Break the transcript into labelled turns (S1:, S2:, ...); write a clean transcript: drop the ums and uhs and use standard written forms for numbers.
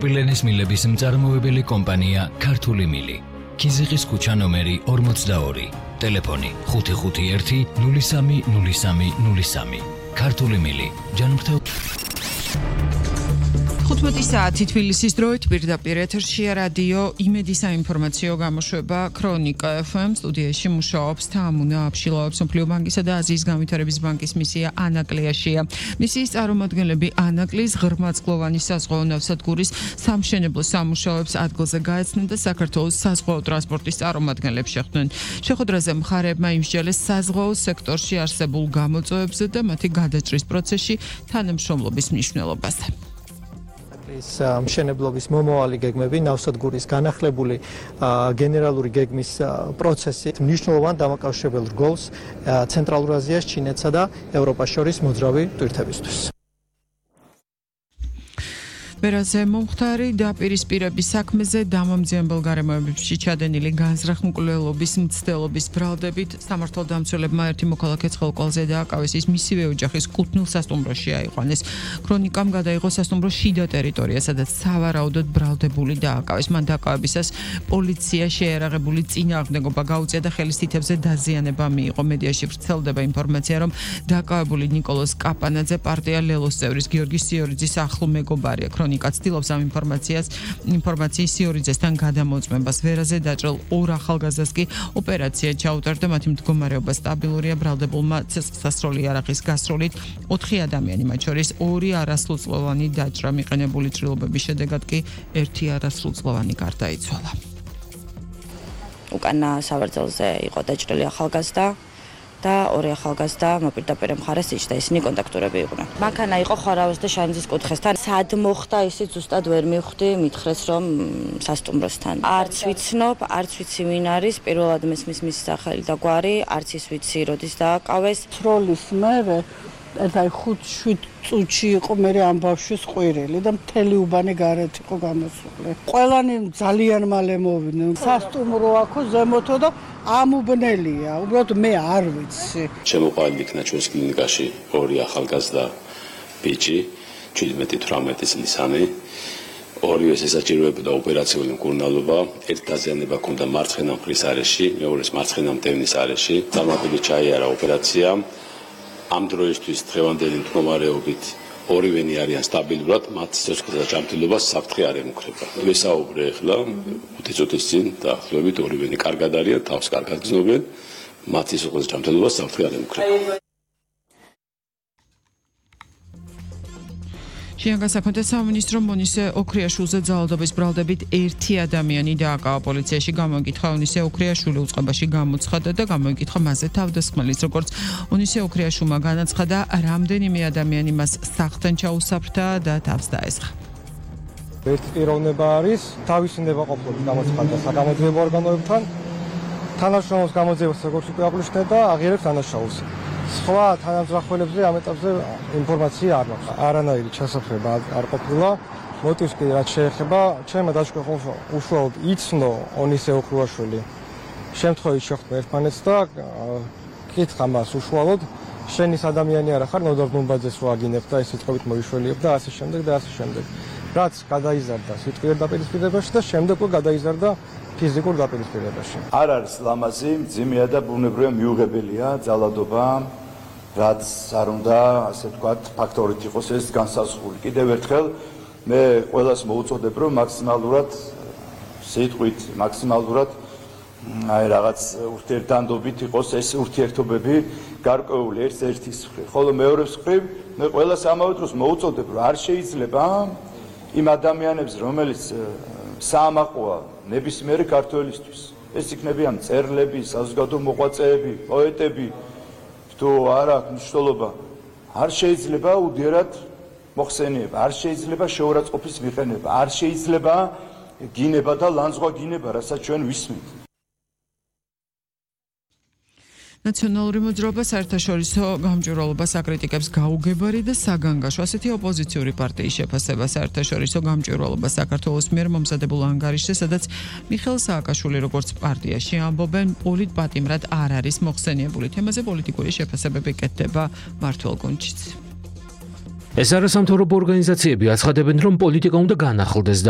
S1: პილენის მილების მწარმოებელი კომპანია ქართული მილი. ქიზიყის ქუჩა ნომერი 42. ტელეფონი 551 030303. ქართული მილი. ჯანმრთელ
S2: 15 საათი თბილისის დროით პირდაპირ ეთერში რადიო იმედის საინფორმაციო გამოშვება ქრონიკა FM სტუდიაში მუშაობს თამუნა აბშილაობს მსოფლიო ბანკისა და აზიის განვითარების ბანკის მისია ანაკლიაში. მისიის წარმომადგენლები ანაკლის ღრმაწყლოვანი საზღვაო ნავსადგურის სამშენებლო სამუშაოებს ადგილზე გაეცნენ და საქართველოს საზღვაო ტრანსპორტის წარმომადგენლებს შეხვდნენ. შეხვედრაზე მხარეებმა იმსჯელეს საზღვაო სექტორში არსებულ გამოწვევებზე და მათი გადაჭრის პროცესში თანამშრომლობის მნიშვნელობაზე.
S3: მშენებლობის მომავალი გეგმები, ნავსადგურის განახლებული გენერალური გეგმის პროცესით მნიშვნელოვან დამაკავშირებელ რგოლს ცენტრალურ აზიას, ჩინეთსა და ევროპას შორის მოძრავი ტვირთებისთვის.
S2: ვერაზე მომხდარი დაპირისპირების საქმეზე დამამძიებელ გარემოებებში ჩადენილი განზრახმკვლელობის მცდელობის ბრალდებით სამართალდამცველებმა ერთი მოქალაქე ცხელყვალზე დააკავეს, ის მისივე ოჯახის კუთვნილ სასტუმროში აიყვანეს. ქრონიკამ გადაიღო სასტუმროს შიდა ტერიტორია, სადაც სავარაუდოდ ბრალდებული დააკავეს. მან დაკავებისას პოლიცია შეერაღებული წინააღმდეგობა გაუწია და ხელის თითებზე დაზიანება მიიღო. მედიაში ვრცელდება ინფორმაცია, რომ დაკავებული ნიკოლოზ კაპანაძე პარტია ლელოს წევრის გიორგი სიორიძის ახლო მეგობარია. ქრონიკა ცდილობს ამ ინფორმაციის სიორიძესთან გადამოწმებას. ვერაზე დაჭრილ ორ ახალგაზრდას კი ოპერაცია ჩაუტარდა, მათი მდგომარეობა სტაბილურია. ბრალდებულმა ცეცხლსასროლი იარაღის გასროლით 4 ადამიანი, მათ შორის 2 არასრულწლოვანი დაჭრა. მიყენებული ჭრილობების შედეგად კი 1 არასრულწლოვანი გარდაიცვალა.
S4: უკანა სავარძელზე იყო დაჭრილი ახალგაზრდა და 2 ახალგაზრდა მოპირდაპირე მხარეს იჯდა, ისინი კონტაქტურები იყვნენ. მანქანა იყო ხორავის და შანძის კუთხესთან. სად მოხდა ისიც ზუსტად ვერ მივხვდი, მითხრეს რომ სასტუმროსთან. არც ვიცნობ, არც ვიცი ვინ არის, პირველად მესმის მისი სახელი და გვარი, არც ის ვიცი როდის დააკავეს.
S5: სროლის მერე და 5-7 წუთში იყო მერე ამ ბავშვის ყვირილი და მთელი უბანი გარეთ იყო გამოსული. ყველანი ძალიან მალე მოვიდნენ. სასტუმრო აქო ზემოთო და ამუბნელია. უბრალოდ მე არ ვიცი.
S6: შემოყვანილი იქნა ჩვენს კლინიკაში 2 ახალგაზრდა ბიჭი, 17-18 წლისანი. ორივეს ესაჭიროებოდა ოპერაციული მკურნალობა. ერთ დაზიანება ჰქონდა მარცხენა მხრის არეში, მეორეს მარცხენა მტევნის არეში. წარმატებით ჩაიარა ოპერაცია. ამ დროისთვის დღევანდელი მდგომარეობით ორივენი არიან სტაბილურად, მათ სიცოცხლეთა ჯანმრთელობა საფრთხე არ ემუქრება. ვესაუბრე ახლა 5 წუთის წინ დაახლოებით ორივენი კარგად არიან, თავს კარგად გრძნობენ, მათ სიცოცხლეთა ჯანმრთელობა საფრთხე არ ემუქრება.
S2: შინაგან საქმეთა სამინისტრო მონისე ოქრიაშვილზე ძალადობის ბრალდებით 1 ადამიანი დააკავა. პოლიციაში გამოიკითხა მონისე ოქრიაშვილი უწყებაში გამოცხადა და გამოიკითხა მასზე თავდასხმელის, როგორც მონისე ოქრიაშვილმა განაცხადა, რამდენიმე ადამიანი მას სახლთან ჩაუსაფრთა და თავს დაესხა.
S3: ერთი პიროვნება არის თავისი ნებაყოფლობის გამოცხადა საგამოძიებო ორგანოებთან, თანამშრომლობის გამოძიებას როგორც უკვე აღნიშნეთ და აღიარებს დანაშაულს. სხვა თანამძღოლებზე ამ ეტაპზე ინფორმაცია არ მაქვს. არანაირი ჩასაფრება არ ყოფილა. მოტივს კი რაც შეეხება, ჩემმა დაჟკვეთს უშუალოდ იცნო ონისე ოქრიაშვილი. შემთხვევით შეხვდა ერთმანეთს და კითხა მას უშუალოდ, შენ ის ადამიანი არა ხარ, ნოდარ დუმბაძეს რო აგინებ და ეს სიტყვებით მოიშველიებ და ასე შემდეგ და ასე შემდეგ. რაც გადაიზარდა სიტყვიერ დაპირისპირებაში და შემდეგ უკვე გადაიზარდა ფიზიკურ დაპირისპირებაში.
S7: არ არის ლამაზი, მძიმეა და ბუნებრივია მიუღებელია ძალადობა, რაც არ უნდა, ასე ვთქვათ, ფაქტორით იყოს ეს განსაზღვრული. კიდევ ერთხელ მე ყველას მოუწოდებ, რომ მაქსიმალურად სიტყვით, მაქსიმალურად აი რაღაც ურთიერთდანდობით იყოს ეს ურთიერთობები გარკვეული ერთ-ერთის მხრივ. ხოლო მეორეს მხრივ მე ყველას ამავე დროს მოუწოდებ, რომ არ შეიძლება იმ ადამიანებს, რომელიც საამაყოა ნებისმიერი ქართველისთვის. ეს იქნებიან მწერლები, საზოგადო მოღვაწეები, პოეტები, თუ არ აქვს მნიშვნელობა, არ შეიძლება უდიერად მოხსენიება, არ შეიძლება შეურაცხყოფის მიყენება, არ შეიძლება გინება და ლანძღვა გინება, რასაც ჩვენ ვისმენთ.
S2: ნაციონალური მოძრაობა საერთაშორისო გამჭვირვალობას აკრიტიკებს გაუგებარი და საგანგაშო. ასეთი ოპოზიციური პარტიის შეფასება საერთაშორისო გამჭვირვალობას საქართველოს მიერ მომზადებულ ანგარიშზე, სადაც მიხეილ სააკაშვილი როგორც პარტიაში ამბობენ, პოლიტპატიმრად არ არის მოხსენიებული. თემაზე პოლიტიკური შეფასებები კეთდება მართლ გუნჩიც.
S8: ეს არასამთავრობო ორგანიზაციები აცხადებენ, რომ პოლიტიკა უნდა განახლდეს და